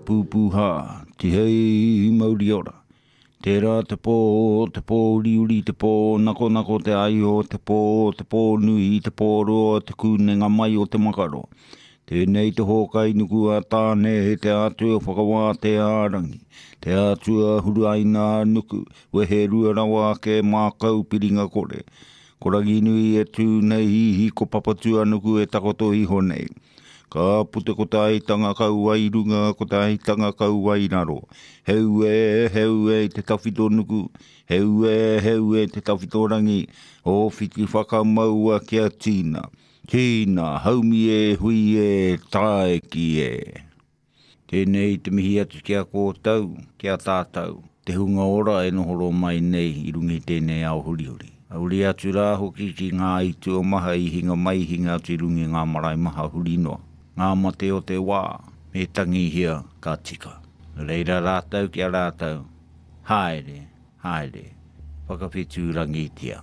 Pūpūhā, tihei mauri ora. Tērā te pō, te pō uriuri, te pō nakonako te aio, te pō, te pō nui, te pō roa, te kūnenga mai o te makaro. Tēnei te hōkai nuku a Tāne, te atua whakawātea a Rangi, te atua huraina a Nuku, wehe rua rawa ake mākau piringa kore. Ko Ranginui e tū nei, ko Papatūānuku e takoto iho nei. Ka puta ko te aitanga kauae runga, ko te aitanga kauae raro. Heu e, heu e te tawhito nuku, heu e, heu e te tawhito rangi, o whiti whakamaua kia tīna. Tīna, haumi e, hui e, tāeki e. Tēnei te mihi atu ki a kōtou, ki a tātou, te hunga ora e nohoro mai nei i runga i tēnei ao hurihuri. Uri atu rā hoki ki ngā aituo maha i hinga mai, hinga atu i runga i ngā marae maha huri noa. Ngā mate o te wā, me tangihia ka tika. Nō reira rātou ki a rātou, haere, haere, whakawhetūrangitia.